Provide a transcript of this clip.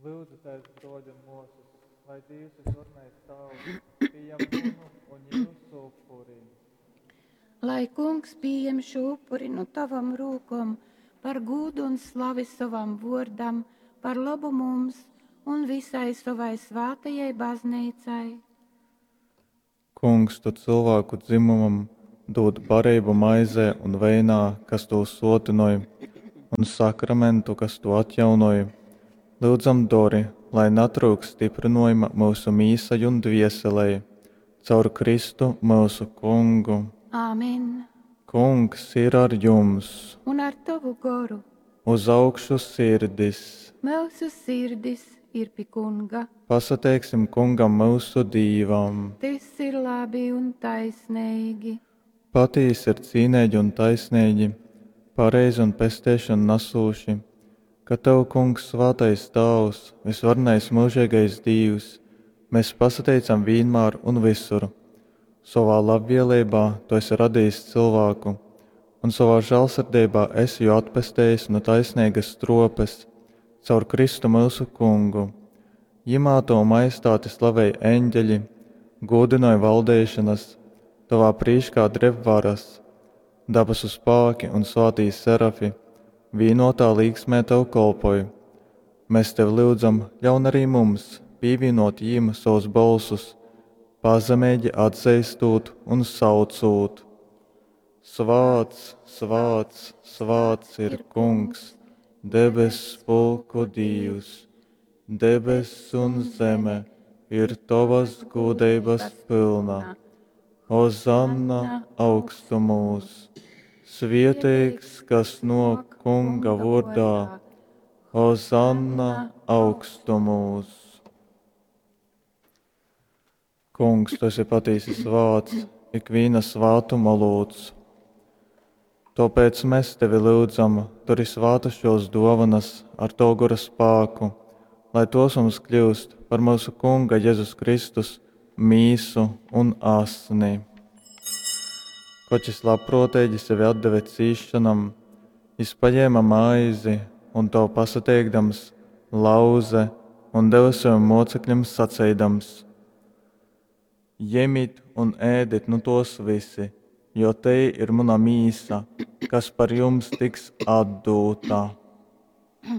Lyudzitēs, brōļi un mōsas, lai Dīvs Vysvarenais Tāvs pījam munu un jyusu upuri. Lai Kungs pījem šū upuri nu tavom rūkom par gūdu un slavi sovam vōrdam, par lobu mums un visai sovai svātajai Bazneicai. Kungs, tu cylvāku dzimumam dūd bareibu maizē un veinā, kas tū sōtynoj, un sakramentu, kas tū atjaunoj. Lyudzam dori, lai natryukst styprynōjuma myusu mīsai un dvieselei. Caur Kristu myusu Kungu. Āmen. Kungs ir ar jums! Un ar tovu goru. Uz augšu sirdis! Myusu sirdis ir pi Kunga. Pasateiksim Kungam myusu Dīvam! Tys ir labi un taisneigi. Patīsi ir cīneigi un taisneigi, pareizi un pesteišonu nasūši, ka tev, Kungs, svātais Tāvs, vysvarenais myužeigais Dīvs, mes pasateicam vīnmār un vysur. Sovā labvieleibā tu esi radejis cylvāku un sovā žālsirdeibā esi jū atpestejis nu taisneigas strōpes caur Kristu myusu Kungu. Jymā tovu majestāti slavej eņgeļi, gūdynoj valdeišonas, tovā prīškā dreb varas. Dabasu spāki un svātī serafi vīnotā līksmē tev kolpoj. Mes tevi lyudzam, ļaun arī mums pīvīnōt jīm sovus bolsus, pazemeigi atzeistūt un saucūt. Svāts, svāts, svāts ir Kungs, debess pulku Dīvs, debess un zeme ir tovas gūdeibas pylna. Hozanna augstumūs! Svieteigs, kas nōk Kunga vōrdā, Hozanna augstumūs! Kungs, tu esi patīsi svāts, ikvīna svātuma olūts. Tōpēc mēs tevi lyudzam, turi svātas šos dōvanas ar tavu gora spāku, lai tos mums kļūst par myusu Kunga Jezus Kristus mīsu un asni. Koč jis labprōteigi sevi atdeve cīsšonam, jis pajēma maizi un tev pasateikdams, lauze un deve savim mōcekļim saceidams: Jemit un ēdit nu tos visi, jo tei ir muna mīsa, kas par jums tiks atdūta.